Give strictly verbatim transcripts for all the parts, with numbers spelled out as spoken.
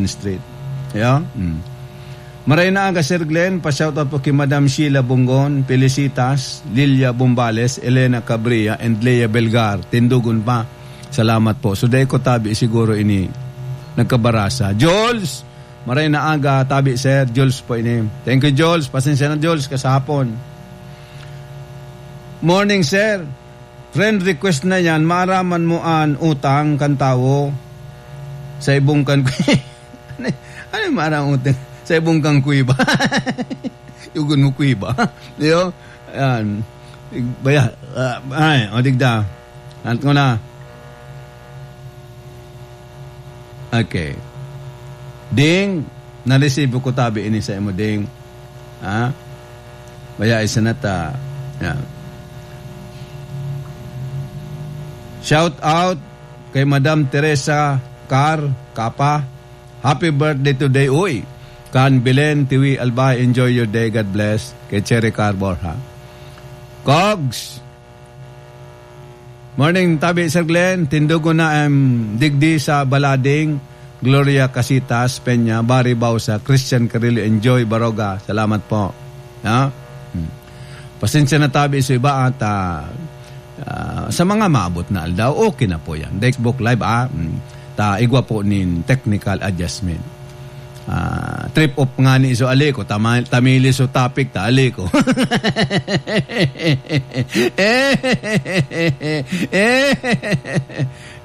Street. Yeah? Mm. Maray na aga, Sir Glenn. Pa-shoutout po ki Madam Sheila Bungon, Felicitas, Lilia Bumbales, Elena Cabria, and Lea Belgar. Tindugon pa. Salamat po. So, dai ko tabi siguro ini nagkabarasa. Jules, maray na aga, tabi, Sir. Jules po ini. Thank you, Jules. Pasensya na, Jules, kasahapon. Morning, Sir. Friend request na yan, maaraman mo an utang kan tawo sa ibong kan ano, ano yung maaraman utang sa ibong kan kuweba? Yugon mo kuweba. Di ba? Yan. Baya, ah, ay, o digda. Anat ko na. Okay. Ding, na-receive ko tabi ini sa imo, Ding. Ha? Baya, isa na ta. Yan. Shout out kay Madam Teresa Car Capa. Happy birthday today, uy. Kan Belen, Tiwi, Albay, enjoy your day. God bless. Kay Cherry Car Borja. Kogs, morning, tabi, Sir Glenn. Tindugon na, em, digdi sa Balading. Gloria Casitas Peña, Barry Bausa, Christian Carrillo, Enjoy Baroga. Salamat po. Ha? Hmm. Pasensya na tabi sa iba at, ah, ah, sa mga maabot na aldaw, okay na po yan. Dexbook Live, ah, mm, ta igwa po nin technical adjustment. Ah, trip off nga ni iso ali ko, tama-, tamili so topic, ta ali ko.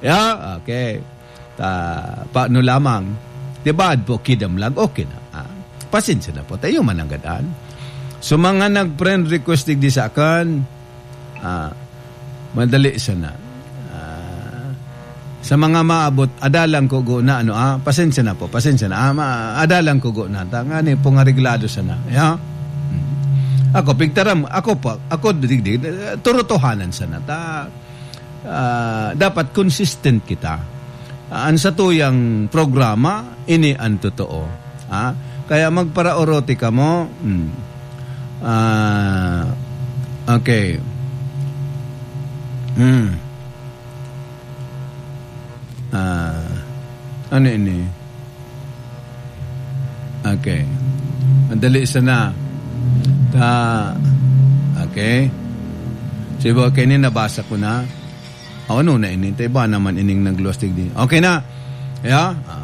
Yeah, okay. Ta, paano lamang? Di ba, adpo kidamlag? Okay na. Ah, pasensya na po. Tayo mananggadan. So, mga nag-friend request digdi sa akin, ah, madali sana. Ah, sa mga maabot, adalan ko go na, ano, ah, pasensya na po, pasensya na. Ah, ma-, adalan ko go na. Ta, nga ni, pong areglado sana. Ya? Hmm. Ako, pigtaram, ako pa, ako, digdi, eh, turutuhanan sana. Ta, ah, dapat consistent kita. Ah, an satuyang programa, ini an totoo. Ha? Kaya magparaorote kamo. Hmm. Ah, okay. Hmm. Ah, ano ini? Okay. Madali sana. Ta-, okay. So, iba, okay, ini nabasa ko na. O, ano na ini? Ta iba naman ining nagluwas digdi. Okay na. Yeah? Ah,